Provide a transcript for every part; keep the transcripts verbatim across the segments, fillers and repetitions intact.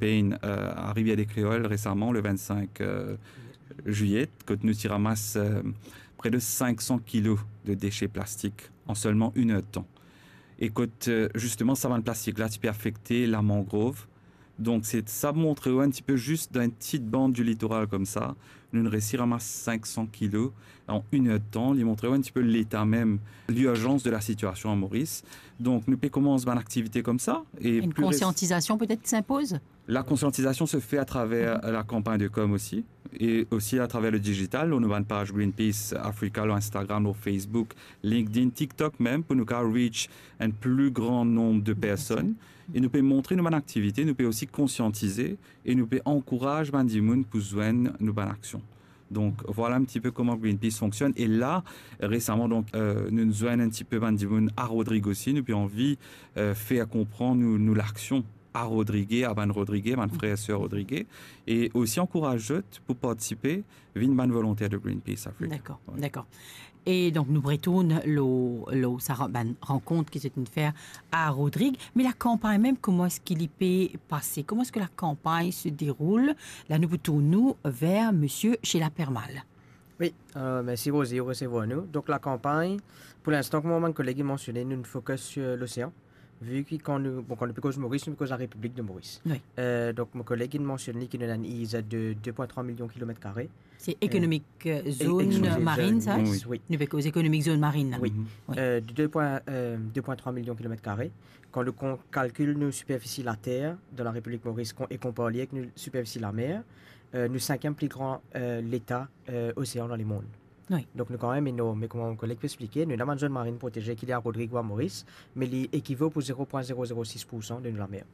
Spain, euh, a Rivière des Créoles récemment, le vingt-cinq, euh, juillet, kot nou ti ramas, euh, près de cinq cents kilos de déchets plastiques en seulement une heure de temps. E kot, euh, justement, sa bann plastik la ti pe afekte lamangrov. Donk, se sa montre ou enn tipe, zis dan enn ti bann di litoral koumsa, nou resi ramas cinq cents kilos en une heure de temps. Li montre ou enn tipe leta mem, lirzans de la sitiasion a Moris. Donk, nou pe koumans bann aktivite koumsa. E une conscientisation peut-être qui s'impose ? La conscientisation se fait à travers la campagne de com aussi, et aussi à travers le digital, lor nou bann page Greenpeace Africa, lor Instagram, lor Facebook, LinkedIn, TikTok mem, pou nou kapav reach un plus grand nombre de personnes. E nou pe montre nou bann aktivite, nou pe osi konsiantize, e nou pe ankouraz bann dimoun pou zwenn nou bann aksion. Donk, vwala enn tipe kouma Greenpeace fonksionn. E la, resaman, donk, euh, nou zwenn enn tipe bann dimoun a Rodrig osi, nou pe anvi, euh, fer konpran nou, nou laksion a Rodrig, a bann Rodrig, bann frer e ser Rodrig, e osi ankouraz zot pou partisipe, vinn bann volonter de Greenpeace Africa. Dakor, dakor. E donk, nou retourn lor, lor sa ra-, bann rankont ki zot inn fer a Rodrig, me lakanpagn mem, kouma eski li pe pase? Kouma eski lakanpagn se deroul? La, nou pou tourn nou ver misie Sheila Permal. Wi, euh, mersi Rosie pou resevwar nou. Donk, lakanpagn, pou linstan, kouma bann koleg inn mansione, nou fokis lor losean. Vu ki kan nou, bon, kan nou pe koz Moris, nou pe koz Larepiblik de Moris. Wi. Euh, donk, mo koleg inn mansionn li ki nou ena enn E E Z de deux point trois millions kilomètres carrés. Se économique, euh, zone marine, sa? Wi. Nou pe koz économique zone marine, la. Wi. Euh, de deux point, euh, deux point trois millions kilomètres carrés. Kan nou kon-, kalkil nou siperfisi later dan Larepiblik Moris kon-, e konpar li avek nou siperfisi lamer, euh, nou sinkiem pli gran, euh, leta, euh, osean dan lemond. Wi. Donk, nou kanmem enorm. Me kouma mo koleg pe explike, nou ena bann zone marine protégée ki li a Rodrig ou a Moris, me li ekivo pou zéro point zéro zéro six pour cent de nou lamer.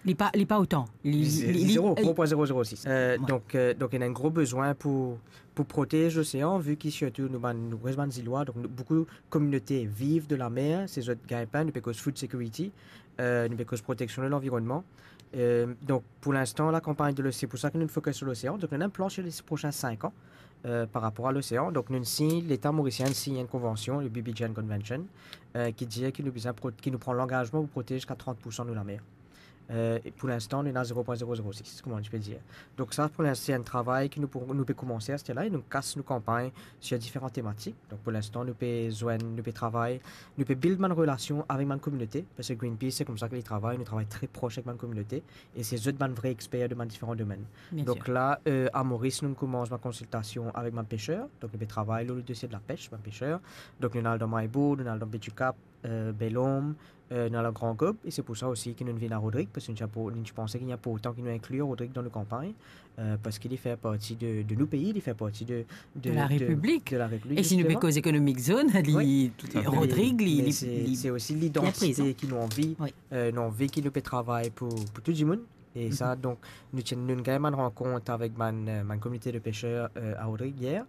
Li pa, li pa otan. Li, li, li, zéro, euh, zéro point zéro zéro six. Euh, donk, euh, donk, ena enn gro bizin pou, pou protez losean, vu ki sirtou nou bann, nou res bann zilwa, donk nou, boukou kominote viv de lamer, se zot gagnpin, nou pe koz food security, euh, nou pe koz proteksion de lanvironnman. Euh, donk, pou linstan, lakanpagn de losean, se pou sa ki nou fokis lor losean. Donk, nou ena enn plan sir les prochains cinq ans, euh, par rapor a losean. Donk, nou sign, Leta morisien sign enn konvansion, le B B G N Convention, euh, ki dir ki nou bizin pro-, ki nou pran langazman pou protez ziska trant pour san nou lamer. Euh, e pou linstan, nou ena zéro point zéro zéro six, kouma nou pe dir. Donk sa, pou linstan, se enn travay ki nou pou, nou pe koumanse aster la, e nou kas nou kanpagn sir diferan tematik. Donk pou linstan, nou pe zwenn, nou pe travay, nou pe build bann relasion avek bann kominote, parski Greenpeace, se koumsa ki li travay, nou travay tre pros avek bann kominote, e se zot bann vre exper dan bann diferan domenn. Bien sir. Donk la, euh, a Moris, nou koumans bann konsiltasion avek bann peser, donk nou pe travay lor le dosie de lapes, bann peser. Donk nou al dan Maribourg, nou al dan Baie du Cap, euh, Bel Ombre, euh, nou al Grand Gaube, e se pou sa osi ki nou vinn a Rodrig, parski nou ti inpor-, nou ti panse ki li inportan ki nou inkli Rodrig dan nou kanpagn, euh, parski li fer parti de, de nou pei, li fer parti de, de, de la Repiblik. De la Repiblik, zisteman. E si nou pe koz économique zone, li, Rodrig, li, li, se, se osi lidantite ki nou anvi, euh, nou anvi ki nou pe travay pou, pou tou dimoun. E sa, donk, nou ti, nou gagn bann rankont avek bann, euh, bann kominote de peser, euh, a Rodrig yer.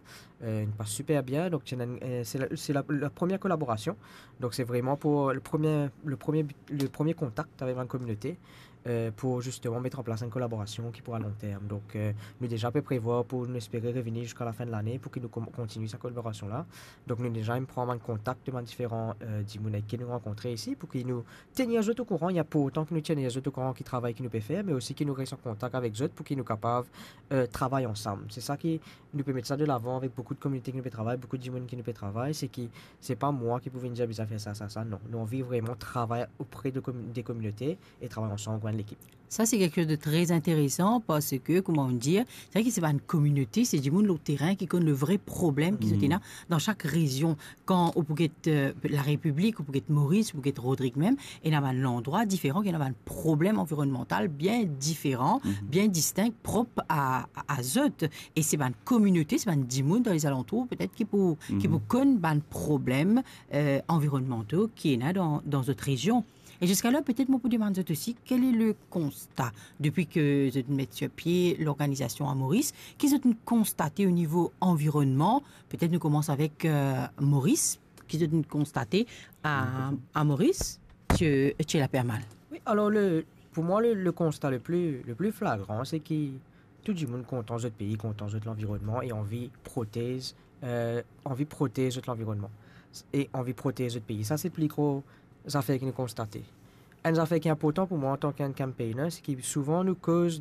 Euh, li pas siper bien. Donk, ti ena, euh, se la, se la, la premie kolaborasion. Donk, se vreman pou le premie, le premie, le premie kontak avek bann kominote, euh, pou zisteman met an plas enn kolaborasion ki pou a long term. Donk, euh, nou deza pe prevwar pou nou espere revini ziska lafin de lane pou ki nou kon-, kontinie sa kolaborasion la. Donk, nou deza inn pran bann kontak de bann diferan, euh, dimoun avek ki nou rankontre isi, pou ki nou tenir zot okouran, li inportan ki nou tenir zot okouran ki travay ki nou pe fer, me osi ki nou res an kontak avek zot pou ki nou kapav, euh, travay ansam. Se sa ki nou pe met sa de lavan avek boukou de kominote ki nou pe travay, boukou de dimoun ki nou pe travay, se ki se pa mwa ki pou vinn dir bizin fer sa, sa, sa, non. Nou anvi vreman travay opre de komi-, de kominote e travay ansam kouma enn lekip. Sa, se kiksoz de tre interesan, parski, kouma nou dir, se vre ki se bann kominote, se dimoun lor terin ki konn le vre problem ki zot ena dan sak rezion. Kan ou pou get, euh, la Repiblik, ou pou get Moris, ou pou get Rodrig mem, ena bann landrwa diferan, ki ena bann problem anvironnmantal bien diferan, bien distink, prop a, a, a zot. E se bann kominote, se bann dimoun dan lezalantour, petet ki pou, ki pou konn bann problem, euh, anvironnmantal ki ena dan, dan zot rezion. E ziska la, petet mo pou demann zot osi, quel est le constat depuis que zot met sur pied l'organisation à Maurice, ki zot inn konstate o nivo anvironnman? Petet nou koumans avek, euh, Moris, ki zot inn konstate a, a Moris, ti, ti la pe mal. Wi, alor le, pou mwa, le, le konsta le pli, le pli flagran, se ki tou dimoun kontan zot pei, kontan zot lanvironnman e anvi protez, euh, anvi protez zot lanvironnman e anvi protez zot pei. Sa, se pli gro zafer ki nou konstate. Enn zafer ki inportan pou mwa antan ki enn campaigner, se ki souvan nou koz de